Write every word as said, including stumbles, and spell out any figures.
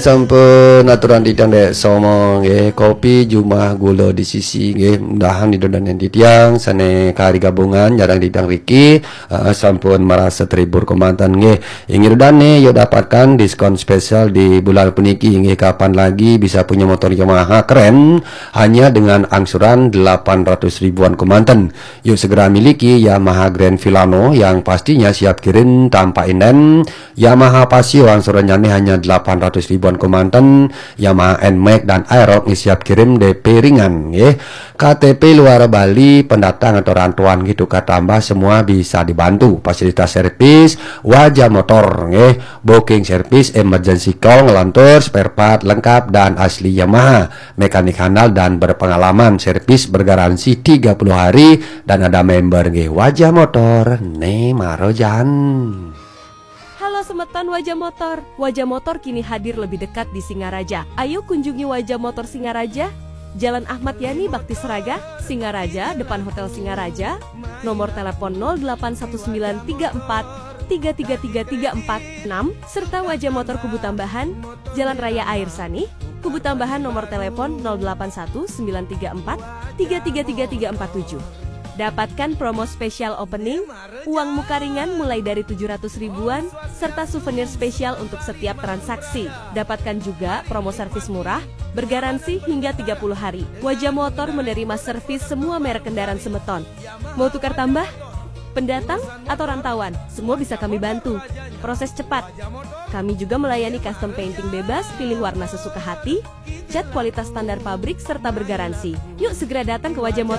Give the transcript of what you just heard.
Sampun aturan titiang dek somo nggih, kopi jumah gula di sisi nggih. Mudahan ida dané titiang sané kari gabungan nyareng titiang riki, eh, sampun marasa terhibur kemanten nggih. Inggih ida dané yuk dapatkan diskon spesial di bulan puniki nggih, kapan lagi bisa punya motor Yamaha keren hanya dengan angsuran delapan ratus ribuan kemanten. Yuk segera miliki Yamaha Grand Filano yang pastinya siap kirim tanpa inden, Yamaha Paseo angsurannya hanya delapan ratus ribuan kemanten, Yamaha Nmax dan Aerox nggih siap kirim D P ringan nggih. K T P luar Bali, pendatang atau rantauan nggih, tukar tambah semua bisa dibantu. Fasilitas servis Waja Motor nggih, booking servis, emergency call, ngelantur, spare part lengkap dan asli Yamaha. Mekanik handal dan berpengalaman, servis bergaransi tiga puluh hari dan ada member nggih. Waja Motor, né marojan. Halo semeton Waja Motor. Waja Motor kini hadir lebih dekat di Singaraja. Ayo kunjungi Waja Motor Singaraja, Jalan Ahmad Yani Bakti Seraga, Singaraja, depan Hotel Singaraja. Nomor telepon nol delapan satu sembilan tiga empat tiga tiga tiga tiga empat enam, serta Waja Motor Kubu Tambahan, Jalan Raya Air Sanih, Kubu Tambahan, nomor telepon nol delapan satu sembilan tiga empat tiga tiga tiga tiga empat tujuh. Dapatkan promo spesial opening, uang muka ringan mulai dari tujuh ratus ribuan, serta souvenir spesial untuk setiap transaksi. Dapatkan juga promo servis murah, bergaransi hingga tiga puluh hari. Waja Motor menerima servis semua merek kendaraan semeton. Mau tukar tambah? Pendatang atau rantauan, semua bisa kami bantu. Proses cepat. Kami juga melayani custom painting bebas, pilih warna sesuka hati, cat kualitas standar pabrik, serta bergaransi. Yuk segera datang ke Waja Motor.